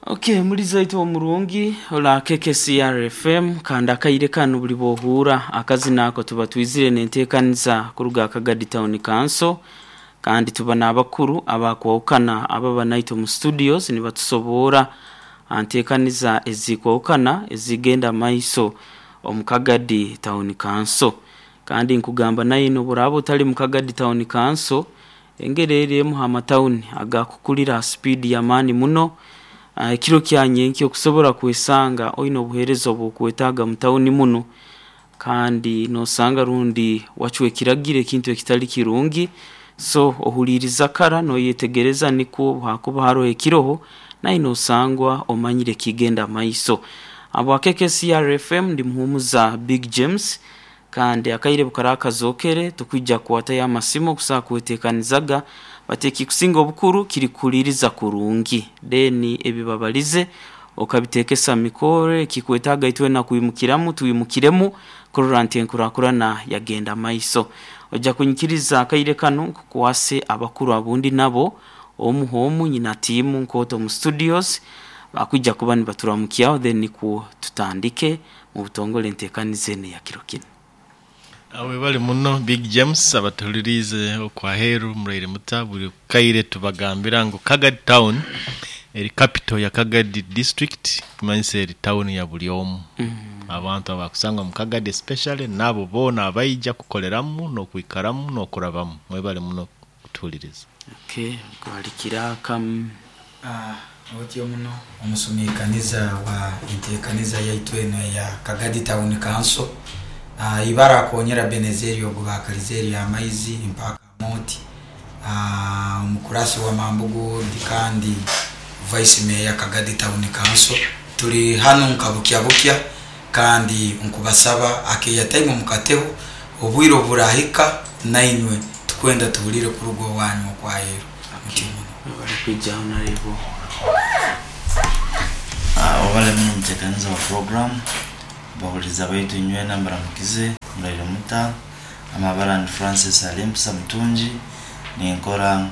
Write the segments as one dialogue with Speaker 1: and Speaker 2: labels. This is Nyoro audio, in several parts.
Speaker 1: Okay, muliza itwe omurungi ola KKCR FM kandi akaire kanu buli bwohura akazina ako tuba twizire nenteekaniza kuruga Kagadi Town Council kandi tuba n'abakuru abakwahukana ababa naitwe mu studios nibatusoboora anteekaniza ezikwahukana ezigenda maiso omu Kagadi Town Council. Kandi nkugamba naye noburaba otali mu Kagadi Town Council, engeri eri emu ha matawuni agakukulira ha speed y'amaani muno. Ekiro kya nyenkya okusobora kwesanga oine obuheereza obwokwetaaga mu tawuni muno, kandi nosanga rundi wacwa ekiragiro ekintu ekitali kirungi. So ohuliiriza kara noyetegereza nikwo obu hakuba haroho ekiroho naye nosangwa omanyire ekigenda maiso. Habwa KKCR FM ndi muhumuza Big James, kandi akaire bukara kazookere tukwija kukwatayo amasimu okusobola kweteekanizaga, bati ekikusinga obukuru kiri kuhuliiriza kurungi, then ebibabalize okabiteekesa mikore ekikwetaaga itwena kwimukiramu twimukiremu kurora nti enkurakurana yagenda maiso. Ojja kunyikiriza akaire kanu nkukwase abakuru abundi nabo omu h'omu nyina tiimu nkooto omu studios bakwija kuba nibaturamukiaho then nikwo tutandike mu butongole enteekaniza enu eya kiro kinu.
Speaker 2: Webale muno Big James, abatuhuliriize okwaheeru muraire muta, buli kaire tubagambira ngu Kagadi Town eri capital ya Kagadi District, kimanyisa eri town ya buli omu. Abantu abakusangwa mu Kagadi especially n'abo boona abaija kukoleramu n'okwikaramu n'okurabamu. Mwebale muno kutuhuliriza.
Speaker 1: Okay, kwalikira kamu.
Speaker 3: Otyo muno omusumikaniza wa entekaniza yaitu enu eya Kagadi Town Council, ibara akonyera Benezeri ogu bakalize erya amaizi mpaka Amoti, omukurasi wa Mambugu Ward kandi Vice Mayor Kagadi Town Council. Tuli hanu nka bukya bukya kandi nkubasaba akeya time mukateho obwire oburahika nainywe tukwenda tuhulire kuruga owanyu okwaheru. Mutyo muno.
Speaker 1: Bali kwijaho Honorable.
Speaker 4: Webale muno omutekaniza wa program, bahuliriza baitu inywena mbaramukize, muraire muta. Amabara ni Francis Alimpisa Mutungi, ninkora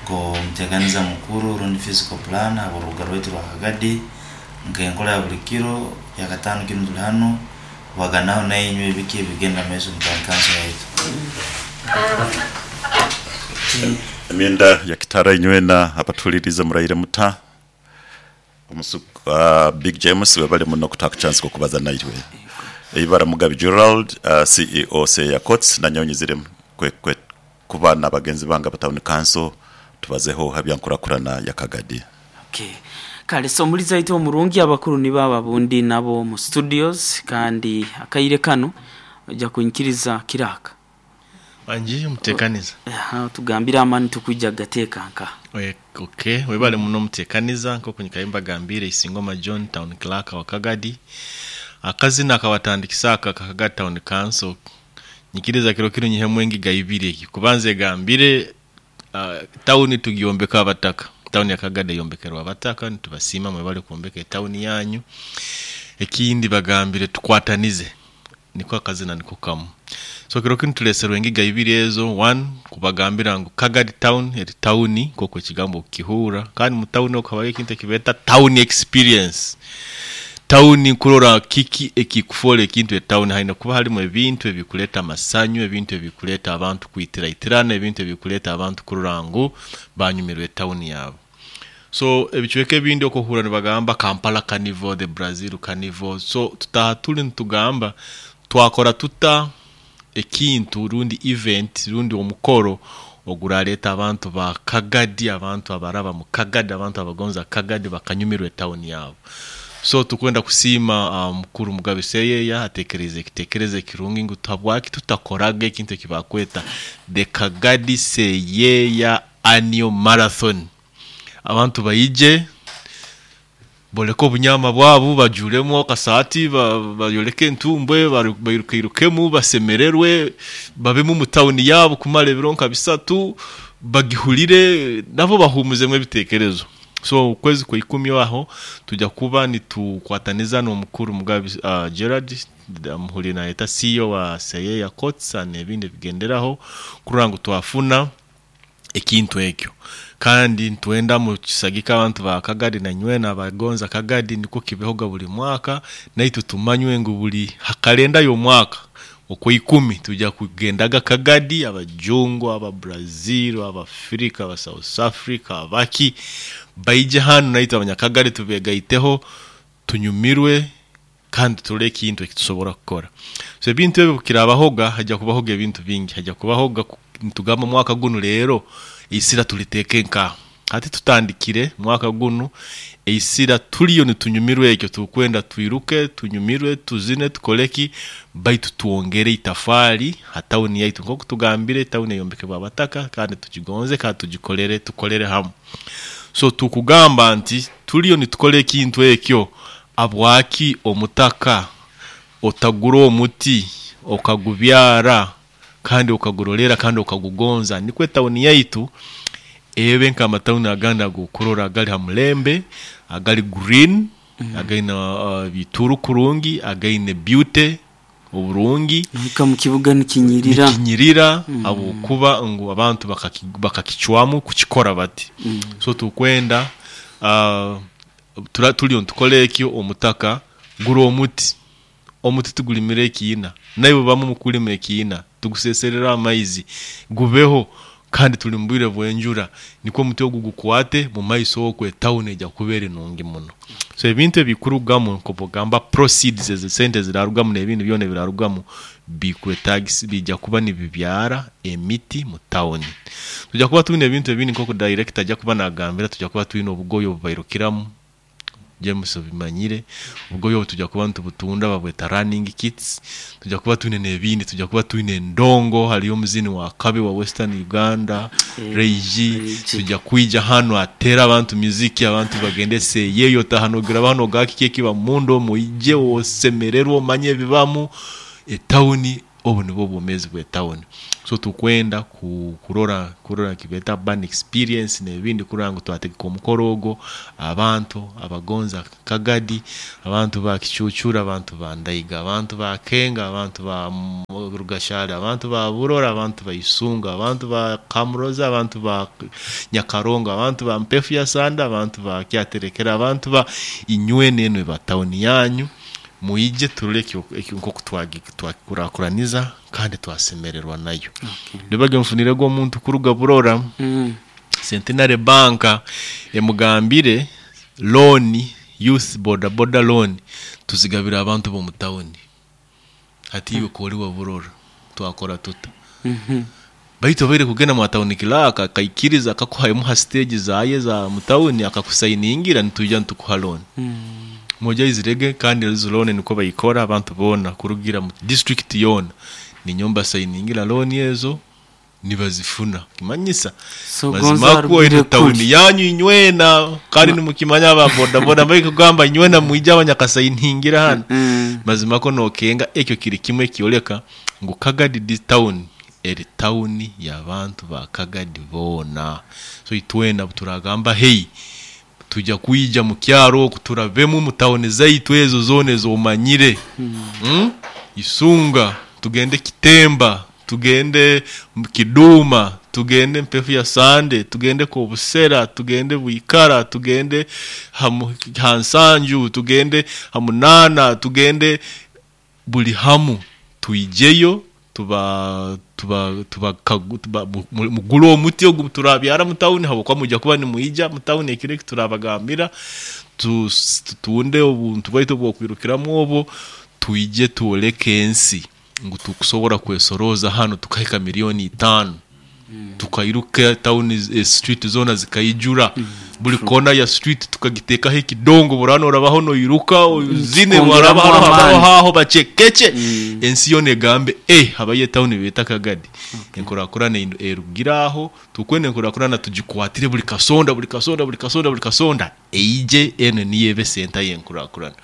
Speaker 4: nk'omutekaniza mukuru rundi physical plan habw'orubuga rwaitu rwa Kagadi, nk'enkora ya buli kiro yakatano kinu tuli hanu kubaganaho nainywe ebiki ebigenda maiso mu town council yaitu.
Speaker 5: Emyenda ya kitara inywena abatuhuliriize muraire muta? Big James webale muno okutaku chance okubaza naitwe. Eibara Mugabi Gerald, CEO Seya Courts, nanyowe nyizire kuba nabagenzi bange aba Town Council tubazeho habyankurakurana ya Kagadi.
Speaker 1: Okay. Kale so omulizi waitu omurungi abakuru nibo abo abundi nabo mu studios kandi akaire kanu oja kunyikiriza kiraka.
Speaker 2: Wangi omutekaniza.
Speaker 1: Aha, tugambire amani tukwija gateeka nka.
Speaker 2: Okay, webale muno omutekaniza nk'oku nyikaire mbagambire Isingoma John Town Clerk wa Kagadi. Akazina akabatandikisa aka Kagadi Town Council nyikiriza kiro kinu nyihemu engiga ibiri egi. Kubanza egambire tawuni tugyombeka abataka. Tawuni ya Kagadi eyombekerwa abataka, nitubasiima mwebale kwombeka etawuni yanyu. Ekindi bagambire tukwatanize, niko akazina niko kamu. So kiro kinu tuleserwe engiga ibiri ezo. One, kubagambira ngu Kagadi Town eri tawuni nk'oku ekigambo okukihurra, kandi mu tawuni okwo habayo ekintu ekibeeta town experience. Tawuni kurora kiki ekikufoora ekintu etawuni, haine kuba harimu ebintu ebikuleeta amasanyu, ebintu ebikuleeta abantu kwitiraitirana, ebintu ebikuleeta abantu kurora ngu banyumirwa etawuni yaabo. So ebicweka ebindi okuhurra nibagamba Kampala Carnival, the Brazil Carnival. So tutaha tuli nitugamba twakora tuta ekintu rundi event rundi omukoro oguraleeta abantu ba Kagadi, abantu abaraba mu Kagadi, abantu abagonza Kagadi bakanyumirwa etawuni yaabo. So tukwenda kusiima mukuru Mugabe Seyeya atekereize ekitekerezo ekirungi ngu habwaki tutakoraga ekintu ekibakweta the Kagadi Seyeya Annual Marathon. Abantu baije boleke obunyama bwabo, bajuremu akasaati, bayoleke entumbwe, bairukairukemu, basemererwe, babemu mu tawuni yaabo kumara ebiro nka bisatu, bagihulire nabo bahumuzemu ebitekerezo. So okwezi kwa ikumi aho tujja kuba nitukwataniza n'omukuru Mugabe Gerald muhuri nayeta CEO wa Seyeya Courts n'ebindi ebigenderaho kurora ngu twafuna ekintu ekyo. Kandi ntwenda mukisagika abantu ba Kagadi na nywena abagonza Kagadi, nikwo kibehoga buli mwaka, naitwe tumanywe ngu buli hakalenda y'omwaka okwa 10 tujja kugendaga Kagadi, abajungu, aba Brazil, Abafrika, aba South Africa, abaki baije hanu, naitwe abanyakagadi tubegaiteho, tunyumirwe kandi turole ekintu ekitusobora kukora. So ebintu ebyo bukirabahoga, hajja kubahoga ebintu bingi, hajja kubahoga nitugamba mwaka gunu leero isira tuliteeke nkaha. Hati tutandikire mwaka gunu eisira tuliyo nitunyumirwa ekyo, tukwenda twiruke, tunyumirwe, tuzine, tukoleki, baitu twongere itafaali ha tawuni yaitu. Nk'oku tugambire, tawuni eyombekebwa abataka, kandi tugigonze kandi tugikolere, tukolere hamu. So tukugamba nti tuliyo nitukora ekintu ekyo, abwaki omutaka otagura omuti okagubyara kandi okagurolera kandi okagugonza, nikwo etawuni yaitu ebe nk'amatawuni agandi ag'okurora agali ha mulembe, agali green, againe ebituru kurungi, againe beauty oburungi.
Speaker 1: Nohika mu kibuga nikinyirira.
Speaker 2: Nikinyirira habwokuba ngu abantu bakakicwamu kukikora bati. So tukwenda tuliyo nitukora ekyo. Omutaka gura omuti, omuti tugulimire ekiina, naiwe bamu mukulima ekiina, tuguseserera amaizi gubeho, kandi tuli mu bwire bw'enjura, nikwo omuti ogu gukwate mu maiso okwo, etawuni ejya kuba eri nungi muno. So ebintu ebikurugamu, nk'obugamba proceeds, ezo sente ezirarugamu n'ebindi byona ebirarugamu bikwetagisa bijja kuba nibibyara emiti mu tawuni. Tujja kuba twine ebintu ebindi nk'oku director ajja kuba nagambira, tujja kuba twine obugoye obubairukiramu, James obimanyire, obugoye obu tujja kuba nitubutunda, babweta running kits. Tujja kuba twine n'ebindi, tujja kuba twine endongo, haliyo omuzini wa kabi wa Western Uganda, Ray G, tujja kwija hanu atere abantu muziki, abantu bagende seyeyo, otaha nogira hano gaki ekiba munda, omuije osemererwe, omanye ebibamu etawuni. Obu nibwo obwomeezi bw'etawuni. So tukwenda kurora ekibeta urban experience n'ebindi, kurora ngu twategeka omukoro ogwo, abantu abagonza Kagadi, abantu ba Kicucura, abantu ba Ndaiga, abantu ba Kenga, abantu ba Rugashari, abantu ba Burora, abantu ba Isunga, abantu ba Kamuroza, abantu ba Nyakarongo, abantu ba Mpefu ya Sanda, abantu ba Kyaterekera, abantu ba inywena, enu eba tawuni yanyu, mwije turole ekyo nk'oku twakikurakuraniza kandi twasemererwa nayo. Nibage nfunirego omuntu kuruga Burora, Centenary Bank emugambire loan, youth boda boda loan tuzigabira abantu b'omu tawuni. Hati iwe kori wa Burora, twakora tuta? Baitu obaire kugenda mwa tawuni clerk akaikiriza akakuha emu ha stage zaye za mutawuni akakusayiningira, nitwija nitukuha loan. Moja izirege, kandi ezo loan niko bayikora, abantu boona kurugira mu district yoona ninyomba sayiningira loan ezo nibazifuna, kimanyisa
Speaker 1: So
Speaker 2: mazima
Speaker 1: gonza
Speaker 2: kwo
Speaker 1: arugire
Speaker 2: eno tawuni
Speaker 1: kuli.
Speaker 2: yanyu inywena, kandi nimukimanya aba boda boda mbali kugamba inywena mwija abanyakasayiningira hano. Mazima ko nokenga ekyo kiri kimwe kyoleka ngu Kagadi di town eri tawuni y'abantu ba Kagadi boona. So itwena turagamba hey, tujja kwija mu kyaro oku, turabemu mu tawuni zaitu ezo zoona ezomanyire, Isunga, tugende Kitemba, tugende Kiduma, tugende Mpefu ya Sande, tugende Kobusera, tugende Bwikara, tugende Hansanju, tugende Hamunana, tugende buli hamu, tuijeyo tuba tuba tuba, tuba mugule omuti ogu turabyara mutawuni, habwokuba mujja kuba nimuija mutawuni ekiro eki turabagambira, tutunde obuntu bwaitu obwokwirukiramu obwo, twije twoleke ensi ngu tukusobora kwesoroza hano tukahika 5 million, tukairuka tawuni, street zona zikaijura, buli kona ya street tukagitekaho ekidongo, burano orabaho noiruka zine
Speaker 1: Tukongeramu
Speaker 2: barabaho habaho
Speaker 1: amaani.
Speaker 2: haho bacekeche, ensi yona egambe habayo etawuni beta Kagadi. Enkurakurana erugira aho, tukwenda enkurakurana tugikwatire buli kasonda, buli kasonda, buli kasonda, buli kasonda eije, eno niyo ebe senta y'enkurakurana.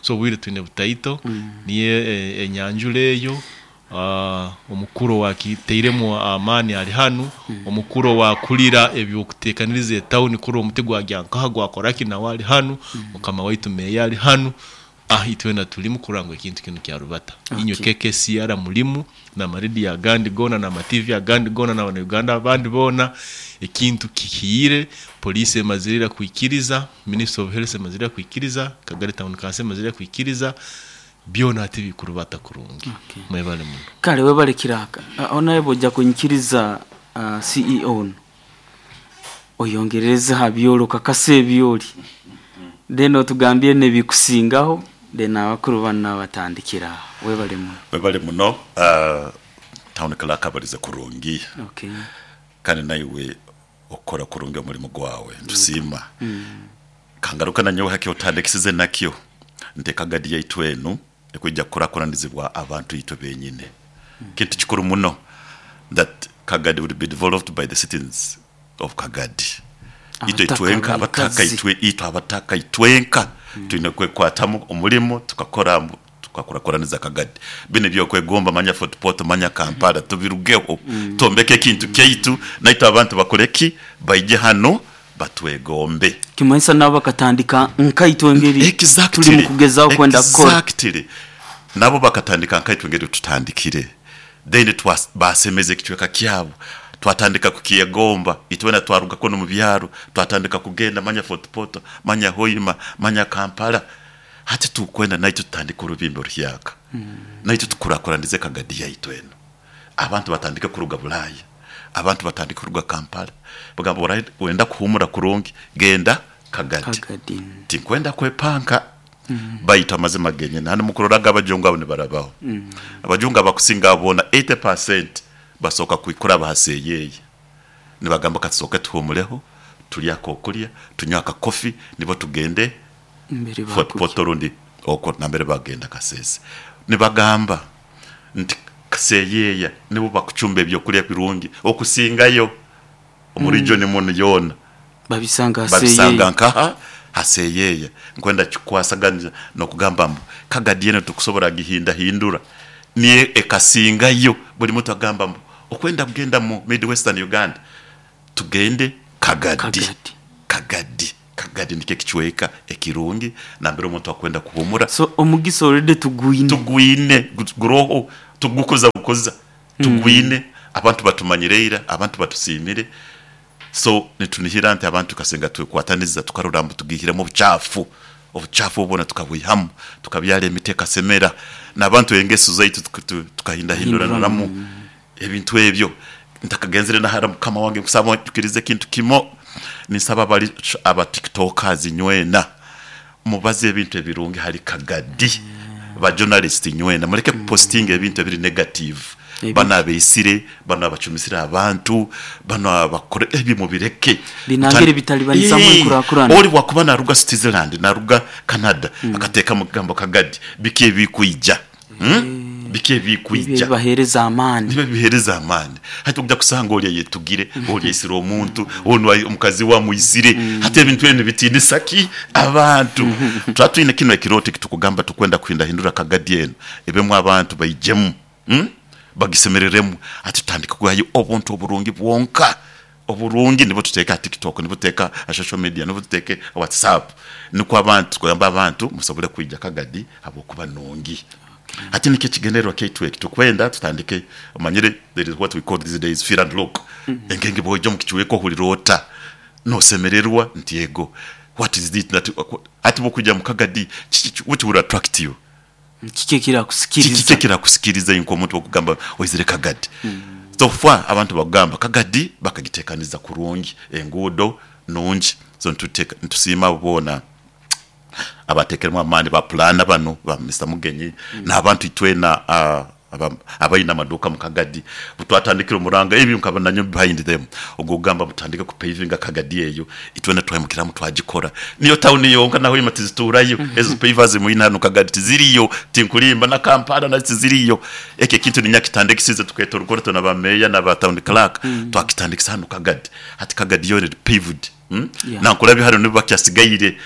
Speaker 2: So obwire twine butaito, niyo enyanjura eyo. Omukuru wakiteiremu amaani ari hanu, omukuru wakulira ebyokuteekaniriza etawuni kuri omuti gwagya nkaha gwakoraki nawe ari hanu, mukama waitu meya ari hanu. Itwena tulimu kurora ngu ekintu kinu kyarubata. Inywe KKCR mulimu, n'amarediyo agandi goona, n'ama-TV agandi goona, n'Abanyarwanda abandi boona, ekintu kihiire, poliisi emazire ira kwikiriza, Ministry of Health emazire ira kwikiriza, Kagadi Town Council emazire ira kwikiriza, byona hati bikurubata kurungi. Mwebale muno.
Speaker 1: Kale webale kiraka. Aho nawe bwojja kunyikiriza CEO onu oyongerereze ha byoli okakasa ebyoli then otugambire nebikusingaho then abakuru banu nabatandikira aho. Webale muno.
Speaker 5: Webale muno Town Clerk abalize kurungi kandi naiwe okukora kurungi omurimo gwawe nitusiima. Kangaruke nanyowe haki otandikisize nakyo nti Kagadi yaitu enu ekwija kukurakuranizibwa abantu itwe benyine. Kintu kikuru muno that Kagadi will be developed by the citizens of Kagadi. Itwe itwenka abataka itwe itwe abataka itwenka twine kwekwatamu omurimo tukakora tukakurakuraniza Kagadi. Binu ebyokwegomba manya Fort Portal manya Kampala tubirugeho twombeke ekintu kyaitu naitwe abantu bakore ki? Baije hanu batwegombe.
Speaker 1: Kimanyisa nabo bakatandika nkaitwe engeri tuli mu kugezaho kwenda kukora.
Speaker 5: Exactly. Nabo bakatandika nkaitwe engeri tutandikire. Then basemeza ekicweka kyabo, twatandika kukyegomba. Itwena twaruga kunu omu byaro, twatandika kugenda manya Fort Portal, manya Hoima, manya Kampala. Hati tukwenda naitwe tutandike orubimbi oruhyaka. Naitwe tukurakuranize Kagadi yaitu enu. Abantu batandike kuruga Bulaaya, abantu batandike kuruga Kampala, bagamba wenda kuhumura kurungi genda Kagadi. Tinkwenda kwepanka baitu amazima genyini. Hanu mukuroraga abajungu abo nibarabaho. Abajungu abakusinga abo boona 80% basooka kuraba ha seeyeeye. Nibagamba katusooke tuhumureho, turye akokurya, tunywe akakofi nibwo tugende Fort Portal rundi okwo nambere bagenda Kasese. Nibagamba nti Seeyeeya nibo bakucumba ebyokurya birungi okusingayo omu region munu yoona.
Speaker 1: Babisanga ha
Speaker 5: Babisanga
Speaker 1: Seeyeeya.
Speaker 5: nkaha? Ha Seeyeeya. Nkwenda kikwasagana n'okugamba mbu Kagadi enu titukusobora gihindahindura niyo ekasingayo. Buli muntu agamba mbu okwenda kugenda mu Mid Western Uganda tugende Kagadi.
Speaker 1: Kagadi.
Speaker 5: Kagadi. Kagadi nikyo ekicweka ekirungi nambere omuntu akwenda kuhumura.
Speaker 1: So omugisa already tugwine.
Speaker 5: Tugwine, guroho, tugukuza bukuza. Tugwine, abantu batumanyire ira, abantu batusiimire. So nitunihira nti abantu kasinga twekwataniza tukarora mbu tugiihiremu obucaafu, obucaafu obu bwona tukabwihamu, tukabyara emiti ekasemera, n'abantu engeso zaitu tukahindahinduranamu ebintu ebyo. Ntakagenzere na hara mukama wange nkusaba onjukirize ekintu kimo, ninsaba abari aba tiktokers nywena mubaze ebintu ebirungi hali Kagadi, ba journalist nywena mureke kupostinga ebintu ebiri negative, banu abaisire, banu abacumisire abantu, banu abakora ebyo mubireke.
Speaker 1: Binangire ebitalibanizamu enkurakurana.
Speaker 5: Ori bwakuba naruga Switzerland, naruga Canada akatekamu ekigambo Kagadi, biki ebikwija? Biki
Speaker 1: Nibyo
Speaker 5: ebikwija?
Speaker 1: ebibaheereza amaani.
Speaker 5: Nibyo ebibaheereza amaani. Hati oija kusanga ori ayetugire, ori aisire omuntu, onu omukazi we amwisire. Hati ebintu ebyo nibitiinisa ki? Abantu. Tuba twine kinu ekirooto eki turikugamba turikwenda kuhindahindura Kagadi enu ebemu abantu baijemu, bagisemereremu. Hati tutandike kuhayo obuntu oburungi bwonka. Oburungi nibwo tuteeke aha TikTok, nibwo tuteeke aha social media, nibwo tuteeke aha WhatsApp nikwo abantu tukuyamba abantu musobole kwija Kagadi habwokuba nungi. Hati nikyo ekigendererwa kyaitu eki tukwenda tutandike omanyire there is what we call these days feel and look. Engenge bwoija omu kicweka ohurira ota? Nosemererwa nti ego what is it that hati bwokwija omu Kagadi kiki which will attract you?
Speaker 1: Kiki ekirakusikiriza?
Speaker 5: Kiki ekirakusikiriza iwe nk'omuntu okugamba oizire Kagadi? So far abantu bakugamba Kagadi bakagitekaniza kurungi, enguudo nungi. So nitusiima abo boona abatekeremu amaani, ba pulaana banu ba Mister Mugenyi n'abantu itwena abaine amaduuka mu Kagadi. Butwatandikire omuranga ebyo nkaba nanyowe behind them ogw'okugamba mbu tutandike kupavinga Kagadi eyo. Itwena twaimukiramu twagikora. Niyo tawuni yonka na Hoima tizituurayo. Ezo pavers mwine hanu Kagadi tiziriyo, tinkulimba na Kampala nazo tiziriyo. Ekyo ekintu niinya kitandikisize tukeeta orukurato na ba meeya na ba tawuni clerk twakitandikisa hanu Kagadi. Hati Kagadi yoona eri paved. Nankulabye hanu nibo bakyasigaire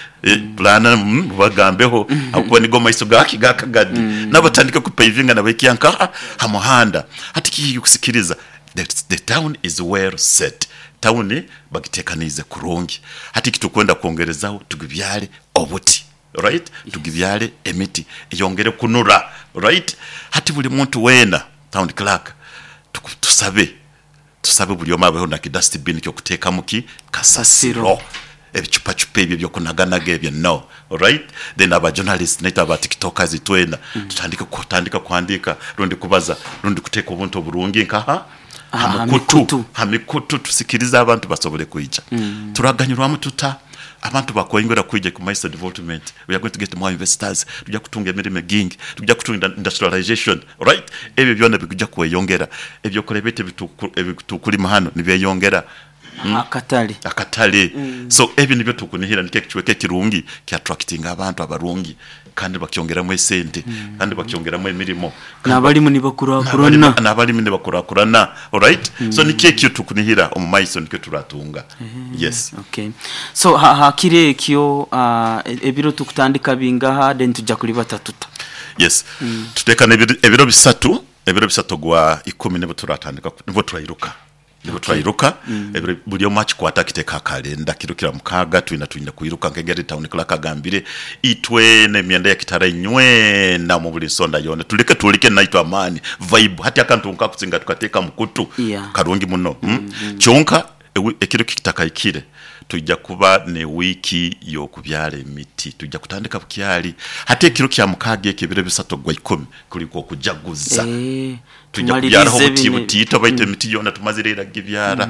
Speaker 5: pulaana mubagambeho ahabw'okuba nigo maiso gaki? Ga Kagadi. Nabo batandike kupavinga nabahikya nkaha? Ha muhanda. Hati kiki ekikusikiriza? The town is well set. Tawuni bagitekaniize kurungi. Hati eki turikwenda kwongerezaho tugibyare obuti. Right? Tugibyale emiti eyongere kunura. Right? Hati buli muntu weena town clerk tusabe tusabe buli omu abeho na ki dustbin ky'okuteekamu ki kasasiro. Ebicupacupa ebyo eby'okunaganaga ebyo no. Alright? Then aba journalists naitwe aba tiktokers itwena tutandike kutandika kuhandiika rundi kubaza rundi kuteeka obuntu oburungi nka ha mikutu, ha mikutu tusikirize abantu basobole kwija. Turaganyirwamu tuta? Abantu bakweyongera kwija ku maiso development, we are going to get more investors, tujja kutunga emirimo egingi, tujja kutunga industrialization, alright? Ebyo byona bikuja kweyongera. Ebyokulya byaitu ebitukulima hanu nibyeyongera.
Speaker 1: Akatale.
Speaker 5: Akatale. So ebyo nibyo tukunihira nikyo ekicweka ekirungi ki attractinga abantu abarungi kandi bakyongeramu esente kandi bakyongeramu emirimo.
Speaker 1: N'abalimu nibakurakurana.
Speaker 5: N'abalimi nibakurakurana. Alright? So nikyo ekyo tukunihira omu maiso nikyo turatunga. Yes.
Speaker 1: Okay. So ha kiro ekyo ebiro tukutandika bingaha then tujja kulibata tuta?
Speaker 5: Yes. Tutekana ebiro bisatu, ebiro bisatu ogwa ikumi nibwo turatandika nibwo turairuka. Nibwo twairuka, ebiro buli omu akikwate akiteeke aha kalenda. Kiro kya mukaaga twina twine kwiruka nk'engeri Town Clerk agambire. Itwena emyenda ya kitara inywena omu buli nsonda yoona tuleke twoleke naitwe amaani, vibe. Hati akantu nkakusinga tukateeka mu kutu, karungi muno. Kyonka ekiro kitakahikire, twija kuba n'ewiiki y'okubyara emiti. Twija kutandika bukyali. Hati ekiro kya mukaaga ekyo ebiro bisatu ogwa ikumi kuri nk'okujaguza. Twija kubyaraho
Speaker 1: Tumalirize
Speaker 5: obuti
Speaker 1: bino.
Speaker 5: butiito baitu emiti yoona tumazire ira kugibyara.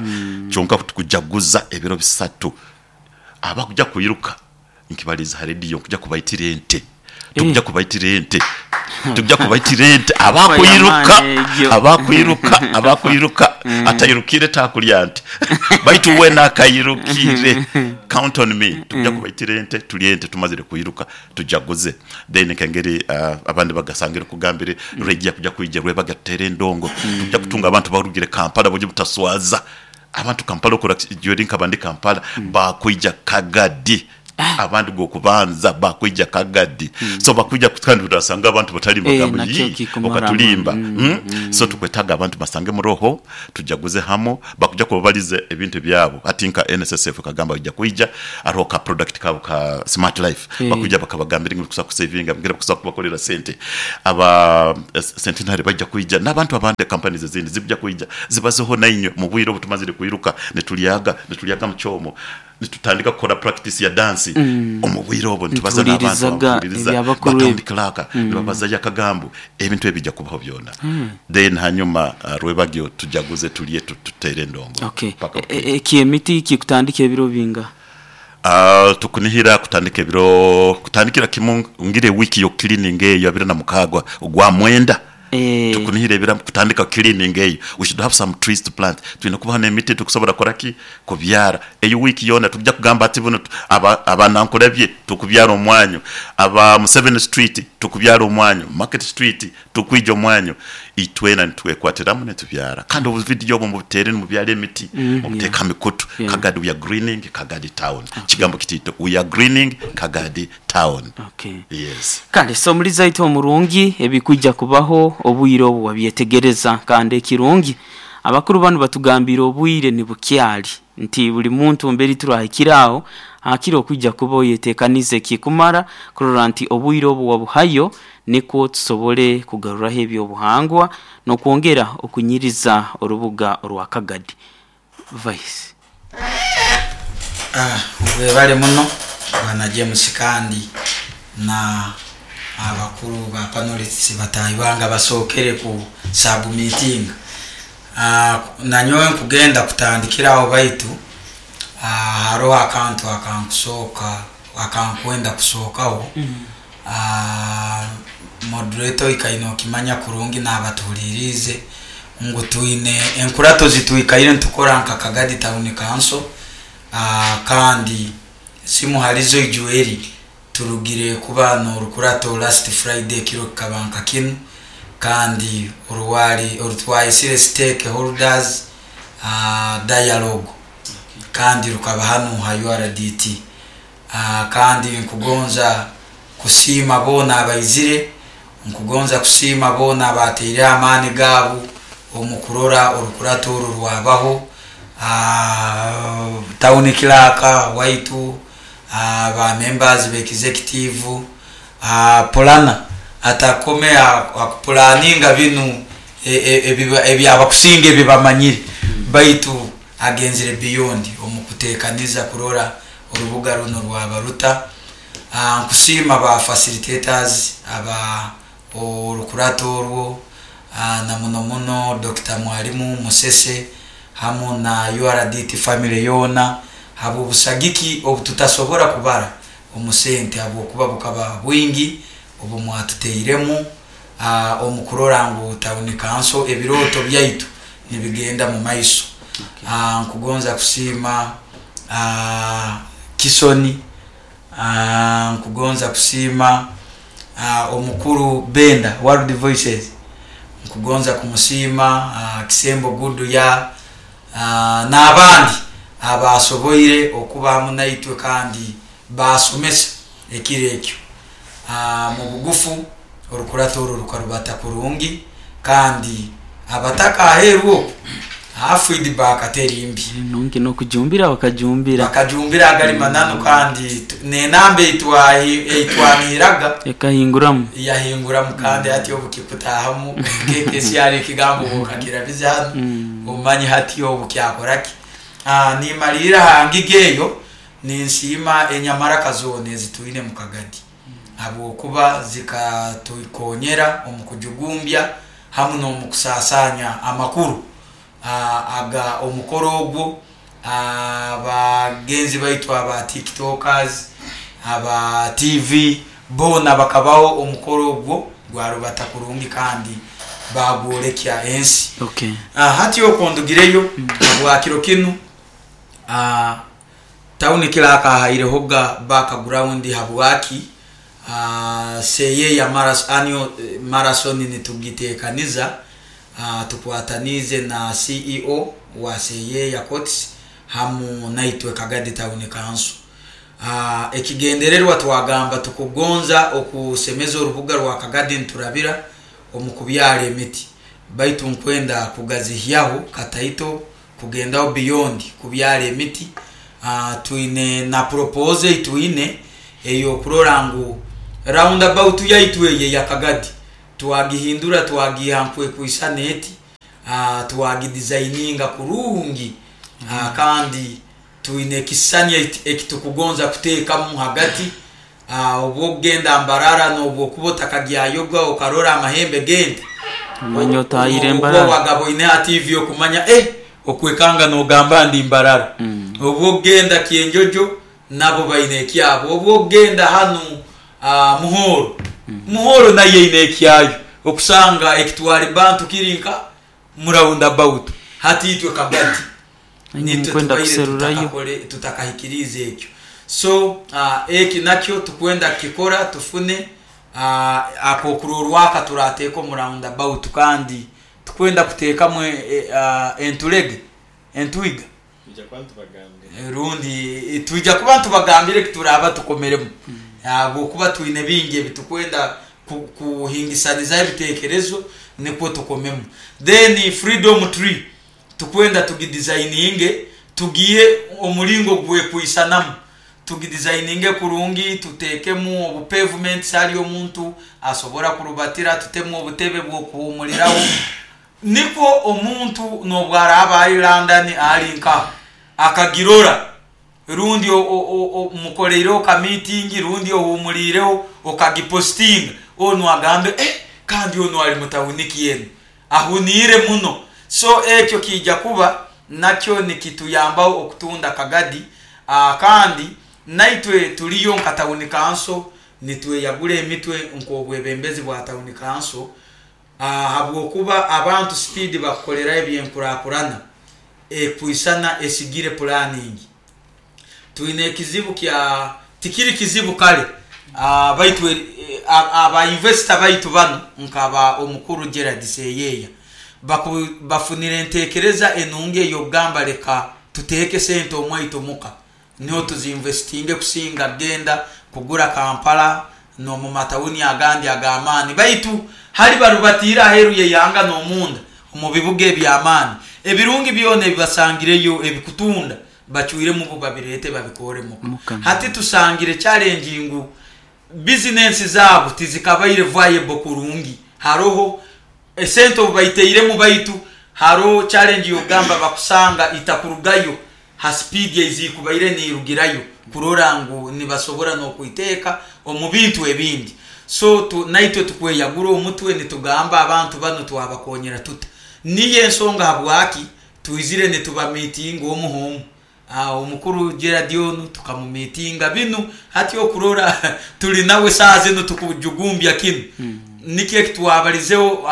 Speaker 5: Kyonka tukujaguza ebiro bisatu. Abakuja kwiruka nkibaliize ha rediyo nkuja kubaitira ente. Tukuja kubaitira ente. Tukuja kubaitira ente. Abakwiruka, abakwiruka, abakwiruka atairukire takulya nte. Baitu weena akairukire, count on me, tukuja kubaitira ente, tulye ente tumazire kwiruka. Tujaguze. Then nk'engeri abandi bagasangire okugambire, lwaija kuja kwija lwebaga tuteere endongo. Tuja kutunga abantu abarugire Kampala buryo butaswaza. Abantu Kampala okora ori nkaba ndi Kampala, baakwija Kagadi. Abandi gw'okubanza baakwija Kagadi. So bakwija kandi orasanga abantu batalimba bagamba
Speaker 1: Nakyo
Speaker 5: yii
Speaker 1: kikumara
Speaker 5: okatulimba.
Speaker 1: amaani.
Speaker 5: So tukwetaaga abantu basange muroho, tujaguze hamu, bakuja kubabaliza ebintu ebyabo. Hati nka NSSF ekagamba baija kwija, hariho ka product kaabo ka smart life, bakwija bakabagambira engeri bakusobola kusevinga, engeri bakusobola kubakolera sente. Aba Centenary baija kwija n'abantu abandi companies ezindi zikuja kwija zibazeho nainywe mu bwire obu tumazire kwiruka nitulyaga, nitulyaga mukyomo, nitutandika kukora practice ya dance omu bwire obwo nitubaza n'abantu
Speaker 1: Nituhuririzaga
Speaker 5: abakuhuririza,
Speaker 1: ebya
Speaker 5: ba
Speaker 1: bakuru
Speaker 5: town
Speaker 1: ebi.
Speaker 5: clerk nibabazayo akagambo, ebintu ebi bija kubaho byona. Then hanyuma rwebagyo tujaguze tulye tuteere endongo
Speaker 1: Okay.
Speaker 5: paka bukeye.
Speaker 1: Eky'emiti kikutandika ebiro bingaha?
Speaker 5: Tukunihira kutandika ebiro kutandikira kimu ngire wiiki yo cleaning eyo abiri na mukaaga ogwa mwenda. Tukunihira ebiro kutandika cleaning eyo. We should have some trees to plant. Twine kubaho n'emiti tukusobola kukora ki? Kubyara. Eyo wiiki yoona tukuja kugamba ati bunu aba Nankulabye tukubyara omwanyu, aba Museveni Street tukubyara omwanyu, Market Street tukwija omwanyu. Itwena nitwekwatiramu nitubyara. Kandi obuvidiyo obwo mubuteere nimubyara emiti, mubuteeke ha mikutu. Kagadi we are greening Kagadi town. Ekigambo kitiito, we are greening Kagadi town.
Speaker 1: Okay.
Speaker 5: Yes.
Speaker 1: Kale so omulizi waitu omurungi ebikwija kubaho obwire obu wabyetegereza kandi ekirungi abakuru banu batugambiire obwire nibukyali nti buli muntu mberi turahikire aho hakire okwija kuba oyetekanize ekikumara kurora nti obwire obu wabuhayo nikwo tusobole kugaruraho ebyobuhangwa n'okwongera okunyiriza orubuga orwa Kagadi. Vice.
Speaker 3: Webale muno Bwana James kandi na abakuru ba panelists bataahi bange abasookere ku submittinga. Nanyowe nkugenda kutandikira aho baitu haroho akantu akankusooka akankwenda kusookaho. Moderator oikaire nokimanya kurungi nabatuhuliriize ngu twine enkurato zitwikaire nitukora nka Kagadi Town Council kandi zimu halizo ijueri turugire kuba n'orukurato last Friday ekiro kikaba nka kinu kandi orwali orutwayesire stakeholders dialogue kandi rukaba hanu ha URDT. Kandi nkugonza kusiima boona abaizire, nkugonza kusiima boona abaataireho amaani gaabu omu kurora orukurato oru rwabaho. Town clerk waitu, Ba members ba executive, pulana atakome akupulaninga binu ebyabakusinga ebibamanyire, baitu agenzire beyond omu kutekaniza kurora orubuga runo rwabaruta. Nkusiima ba facilitators aba orukurato orwo, na muno muno Dr. Mwalimu Musese hamu na URDT family yoona habw'obusagiki obututasobora kubara omu sente, habwokuba bukaba bwingi obu mwatuteiremu omu kurora ngu Town Council ebirooto byaitu nibigenda mu maiso. Nkugonza kusiima Kisoni, nkugonza kusiima omukuru Benda World Voices, nkugonza kumusiima Kisembo Guduya, n'abandi abasoboire okuba hamu naitwe kandi basomesa ekiro ekyo. Mu bugufu orukurato oru rukarubata kurungi, kandi abataka aheeru oku feedback teri mbi.
Speaker 1: Nungi n'okujumbira bakajumbira.
Speaker 3: Bakajumbira agali mananu, kandi n'enamba eitwanihiraga
Speaker 1: ekahinguramu.
Speaker 3: Yahinguramu, kandi hati obu kikutahamu KKCR ekigambo bwokakirabiza hanu, omanyi hati obu kyakoraki. Nimalirira ha ngiga eyo, ninsiima enyamaraka zoona ezitwine mu Kagadi, habwokuba zikatukonyera omu kujugumbya hamu n'omu kusasanya amakuru aga omukoro ogwo. Abagenzi baitu aba tiktokers, aba TV boona bakabaho omukoro ogwo gwarubata kurungi kandi bagwolekya ensi. Hati okwo ndugireyo habwa kiro kinu, town clerk ahairehoga background habwaki Seyeya annual marathon nitugitekaniza, tukwatanize na CEO wa Seyeya Courts hamu naitwe Kagadi Town Council. Ekigendererwa twagamba tukugonza okusemeza orubuga rwa Kagadi niturabira omu kubyara emiti, baitu nkwenda kugazihyaho kataito kugendaho beyond kubyara emiti. Twine na proposal twine eyokurora ngu roundabout yaitu eyo eya Kagadi twagihindura, twagiha nkwekwisana eti, twagidesigninga kurungi, kandi twine ekisisani ekitukugonza kuteekamu hagati. Obwokugenda Mbarara n'obwokuba otakagyayoga okarora amahembe g'ente,
Speaker 1: omanya otahire Mbarara.
Speaker 3: Wagaboine ha TV okumanya okwekanga nogamba ndi Mbarara. Obwokugenda Kyenjojo nabo baine ekyabo, obwokugenda hanu Muhoro, Muhoro nayo eine ekyayo, okusanga ekitwara bantu kiri nka mu roundabout. Hati itwe Kagadi nitwe
Speaker 1: Mukwenda
Speaker 3: tubaire
Speaker 1: kuserurayo.
Speaker 3: Tutakahikiriza ekyo. So eki nakyo tukwenda kukikora, tufune akokurorwaka turateeka omu roundabout, kandi tukwenda kuteekamu entulege, entwiga, rundi twija kuba ntubagambire kituraba tukomeremu, habwokuba twine bingi ebitukwenda kuhingisanizaho ebitekerezo nikwo tukomemu. Then freedom tree tukwenda tugidesigninge, tugihe omulingo gwekwisanamu, tugidesigninge kurungi, tutekemu obu pavements hali omuntu asobora kurubatira, tutemu obutebe bw'okuhumuliraho, nikwo omuntu n'obwaraba ali London ali nka akagirora, rundi mukoleireho ka meeting, rundi ohumulireho okagipostinga, onu agambe kandi onu ali mutauniki enu ahuniire muno. So ekyo kijja kuba nakyo nikituyambaho okutunda Kagadi. Kandi naitwe tuliyo nka town council nitweyagura emitwe nk'obwebembezi bwa town council, habwokuba abantu speed bakukoleraho ebyenkurakurana ekwisana esigire planning. Twine ekizibu kya tikiri kizibu kale, baitu aba investor baitu banu nkaba omukuru Gerald Seyeya bafunire entekereza enungi ey'okugamba leka tuteeke sente omwaitu muka niho tuzinvestinge kusinga genda kugura Kampala n'omu matawuni agandi ag'amaani, baitu hali barubatiire aheeru y'eihanga n'omunda omu bibuga eby'amaani ebirungi byona ebibasangireyo ebikutunda. Bacwiremu bo babireete babikore muka.
Speaker 1: Muka.
Speaker 3: Hati tusangire challenge ngu bizinensi zaabo tizikabaire viable kurungi. Haroho esente obu baiteiremu baitu haroho challenge y'okugamba bakusanga itakurugayo ha speed eizikubaire niirugirayo kurora ngu nibasobora n'okwiteeka omu bintu ebindi. So tu, naitwe tukweyagura omutwe nitugamba abantu banu twabakonyera tuta. Niyo ensonga habwaki twizire nitubamiitinga omu h'omu. Omukuru Gerald onu tukamumiitinga binu hati okurora tuli nawe saaha zinu tukujugumbya kinu. Nikyo ekitwabalizeho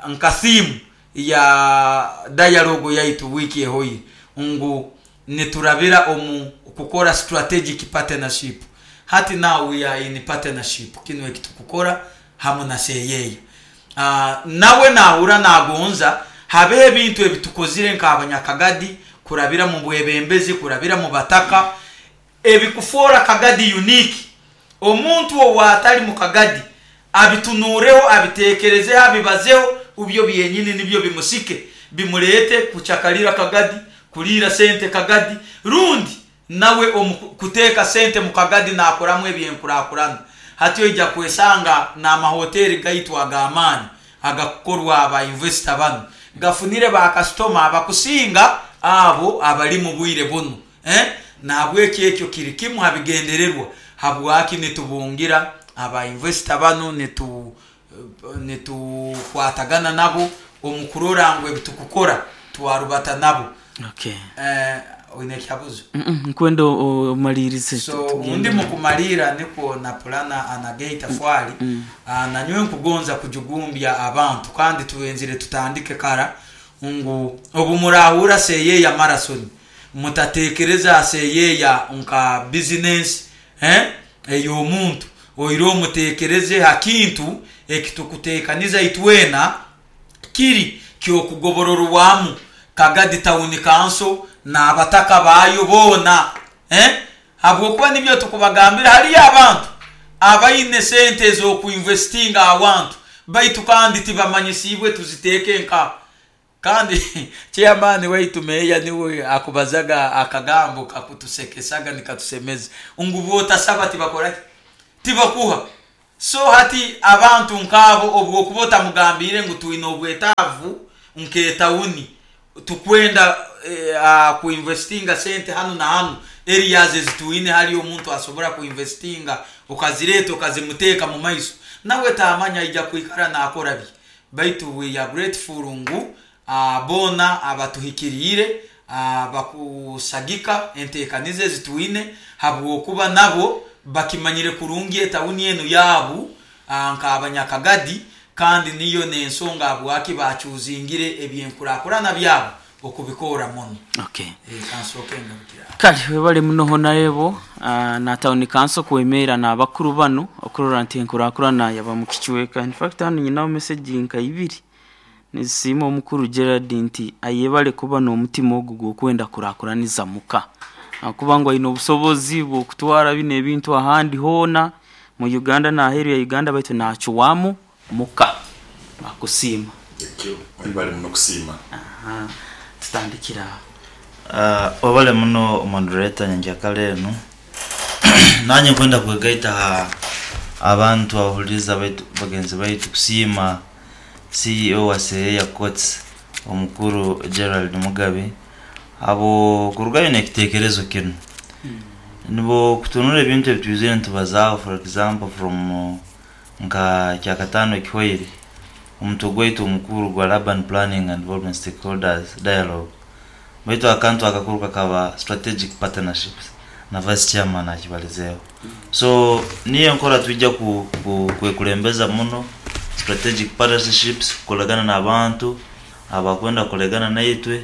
Speaker 3: nka theme ya dialogue yaitu wiiki ehoire ngu niturabira omu kukora strategic partnership. Hati now we are in partnership kinu ekitukukora hamu na Seyeya. Nawe nahurra nagonza habeho ebintu ebitukozire nk'abanyakagadi kurabira mu bwebembezi, kurabira mu bataka, ebikufoora Kagadi unique. Omuntu ow'atali mu Kagadi abitunuureho, abiteekerezeho, abibazeho, ubyo byenyini nibyo bimusike, bimuleete kucakalira Kagadi, kuliira sente Kagadi, rundi nawe omu kuteeka sente mu Kagadi naakoramu ebyenkurakurana. Hati oija kwesanga n'amahoteeri gaitu ag'amaani agakukorwa aba investor banu gafunire ba kasitoma abakusinga abo abali mu bwire bunu. Nahabweki ekyo kiri kimu ha bigendererwa habwaki nitubungira aba investor banu, nitukwatagana nabo omu kurora ngu ebitukukora twarubata nabo.
Speaker 1: Okay.
Speaker 3: Oine ekikaguzo?
Speaker 1: Nkwenda omaliirize.
Speaker 3: So
Speaker 1: tugende.
Speaker 3: Ndi mukumaliira nikwo na pulana anage itafwali. Nanyowe nkugonza kujugumbya abantu kandi twenzire tutandike kara ngu obu murahurra Seyeya Marathon mutatekereza Seyeya nka bizinensi ey'omuntu, oiroho mutekereze ha kintu ekitukutekaniza itwena kiri ky'okugobororwamu Kagadi Town Council n'abataka baayo boona. Habwokuba nibyo tukubagambira hariyo abantu abaine sente ez'okuinvestinga awantu baitu kandi tibamanyisiibwe tuziteeke nka. Kandi chairman waitu meeya niwe akubazaga akagambo kakutusekesaga nikatusemeza ngu bwotasaba tibakora ki? Tibakuha. So hati abantu nk'abo obwokuba otamugambiire ngu twine obwetaavu nk'etawuni tukwenda kuinvestinga sente hanu na hanu areas ezitwine hali omuntu asobora kuinvestinga okazireeta okazimuteeka mu maiso nawe taamanya aija kwikara naakora bye. Baitu we are grateful ngu boona abatuhikiriire bakusagika enteekaniza ezi twine habwokuba nabo bakimanyire kurungi etawuni enu yaabu nk'abanyakagadi kandi niyo n'ensonga habwaki baacuuzingire ebyenkurakurana byabo okubikora muno.
Speaker 1: Okay.
Speaker 3: Kansooke ngarukire aho.
Speaker 1: Kale webale muno Honarebo na Town Council kwemeera n'abakuru banu okurora nti enkurakurana yaba mu kicweka. In fact hanu nyinaho message nka ibiri nizisiima omukuru Gerald nti ayebale kuba n'omutima ogu gw'okwenda kurakuraniza muka. Ahakuba ngu aine obusobozi bw'okutwara binu ebintu ahandi hoona mu Uganda n'aheeru ya Uganda baitu naacwamu muka. Bakusiima.
Speaker 5: Ekyo webale muno kusiima.
Speaker 1: Aha, tutandikire aho.
Speaker 4: Webale muno moderator nyenkyakara enu. Nanye nkwenda kwegaita ha abantu abahuliriza baitu bagenzi baitu kusiima CEO wa Seyeya Courts omukuru Gerald Mugabi abo kurugayo n'ekitekerezo kinu. Nibo kutunura ebintu ebitwizire nitubazaaho for example from nka kyakataano ekihwaire omutwe gwaitu omukuru gwa Urban Planning and Development Stakeholders Dialogue baitu akantu akakuru kakaba strategic partnerships na vice chairman akibalizeeho. So niyo enkora twija kwekulembeza muno strategic partnerships kukolagana n'abantu abakwenda kukolegana naitwe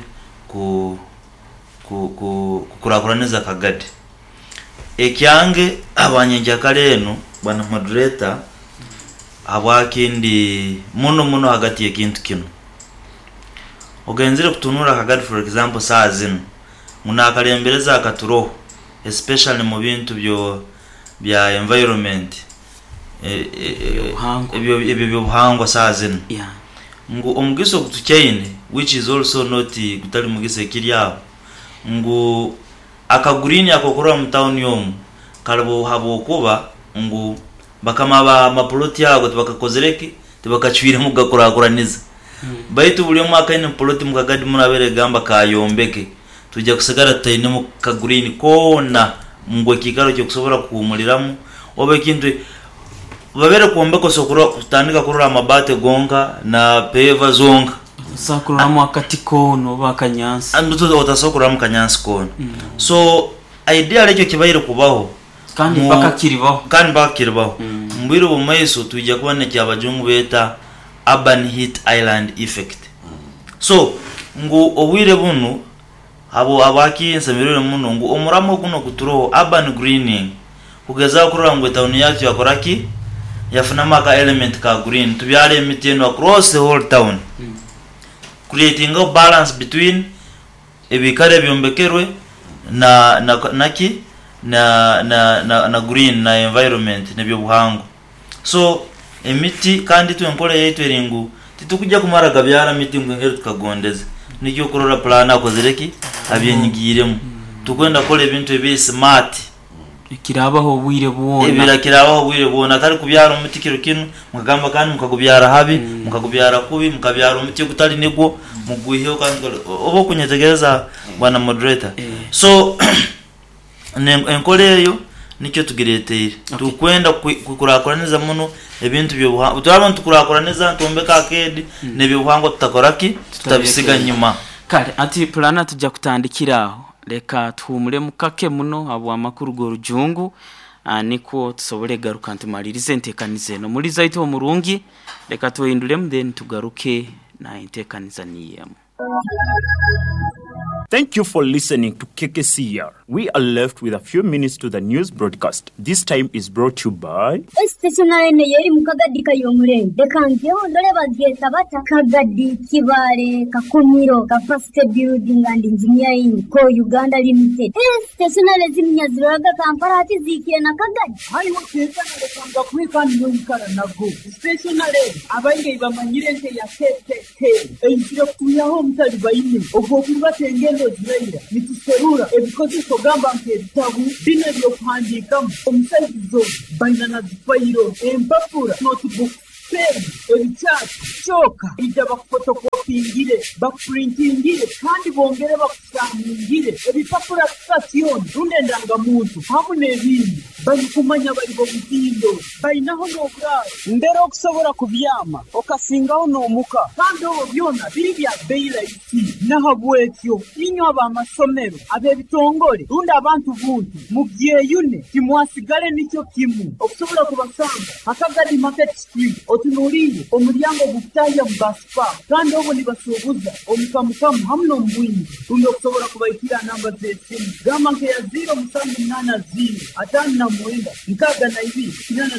Speaker 4: kukurakuraniza Kagadi. Ekyange abanyenkyakara enu bwana moderator habwaki ndi muno muno hagati y'ekintu kinu. Ogenzere kutunura Kagadi for example saaha zinu ngu nakalembereza akaturoho especially mu bintu bya environment
Speaker 1: Ebyobuhangwa.
Speaker 4: Ebyo byobuhangwa saaha zinu ngu omugisa ogutukyaine which is also not gutali mugisa ekiri aho. Ngu akagurini akokurora mu tawuni omu kalibo habwokuba ngu bakama ba mapoloti ago tibakakozereki, tibakacwiremu kugakurakuraniza. Baitu buli omu akaine poloti mu Kagadi muno abeere gamba kayombeke, tujja kusigara tutainemu kagurini koona ngu ekiikaro kyokusobora kuhumuliramu oba ekintu babere kwombeka osobola kutandika kurora amabaati gonka na peva zonka.
Speaker 1: Otasobola kuroramu akati koona oba akanyansi.
Speaker 4: Otasobola kuroramu kanyansi koona. So ideally ekyo kibaire kubaho
Speaker 1: kandi mpaka kiribaho.
Speaker 4: Kandi mpaka kiribaho. Mu bwire obw'omumaiso twija kuba n'ekyabajungu beeta urban heat island effect. So ngu obwire bunu habwaki nsemereirwe muno ngu omuramo guno oguturoho urban greening kugezaho kurora ngu etawuni yaitu yakora ki? Yafunamu aka element ka green. Tubyara emiti enu across the whole town. Creatingaho balance between ebikaro ebyombekerwe na naki na na na green na environment n'ebyobuhangwa. So emiti kandi itwe enkora yaitu eri ngu titukujja kumara gabyara miti ngu engeri tukagondeze. Nikyo okurora pulaani akozire ki? Abyenyigiiremu. Tukwenda kukora ebintu ebiri smart.
Speaker 1: Ekiraabaho obwire bwona.
Speaker 4: Ebira kiraabaho obwire bwona. Atari kubyara omuti kiro kinu, mukagamba kandi mukagubyara habi, mukagubyara kubi, mukabyara omuti ogutali nigwo, mugwiheho kandi oba okunyetegereza bwana moderator. So enkora eyo nikyo tugireteire. Tukwenda kukurakuraniza muno ebintu by'obuhangwa. Turaba nitukurakuraniza nitwombeka arcade n'ebyobuhangwa tutakora ki? Tutabisiga nyuma.
Speaker 1: Kale ati pulana tujja kutandikira aho. Leka tuhumulemu kake muno habw'amakuru g'orujungu nikwo tusobole garuka ntumalirize entekaniza eno. Muliza itwe omurungi, leka twehindulemu then tugaruke na entekaniza niyo emu.
Speaker 6: Thank you for listening to KKCR. We are left with a few minutes to the news broadcast. This time is brought to you by.
Speaker 7: Esiteshonale eno y'eri mu Kagadi Kayomurenge. Leka njeho ndole bagyeta bata Kagadi Kibaale Kakumiro Capacity Building and Engineering Co Uganda Limited. Esiteshonale ziminya ziroraga Kampala hati ziikire na Kagadi.
Speaker 8: Haiwe teekana leka ngakuhe kandi noikara nago. Stationale abaingi bamanyire nke ya KKK eizire kutwihaho omutalibaine ogw'okurubata engendo ziraira nituserura ebikozeso gamba nk'ebitabu bino ebyokuhandiikamu omusaizi baina na zifairo empapura notebook pen ebikyati kyoka ija bakufotokopingire bakupurintingire kandi bongere bakusaningire ebipapura sitasioni rundi endangamuntu hamu n'ebindi barikumanya bari bomutindo bainaho n'oburaaro mbere okusobora kubyama okasingaho n'omuka kandi obwo byona biri bya bei rahisi. Nahabwekyo inywe ab'amasomero ab'ebitongore rundi abantu buntu mubyeyune timwasigale nikyo kimu okusobola kubasanga Hakagadi Market Street otunuliire omulyango ogukutahya mu basipa kandi obwo nibasuubuza omukamukamu hamu n'omubwingi rundi okusobola kubaikira namba z'esimu gamba nkeya 0780 59 62 8.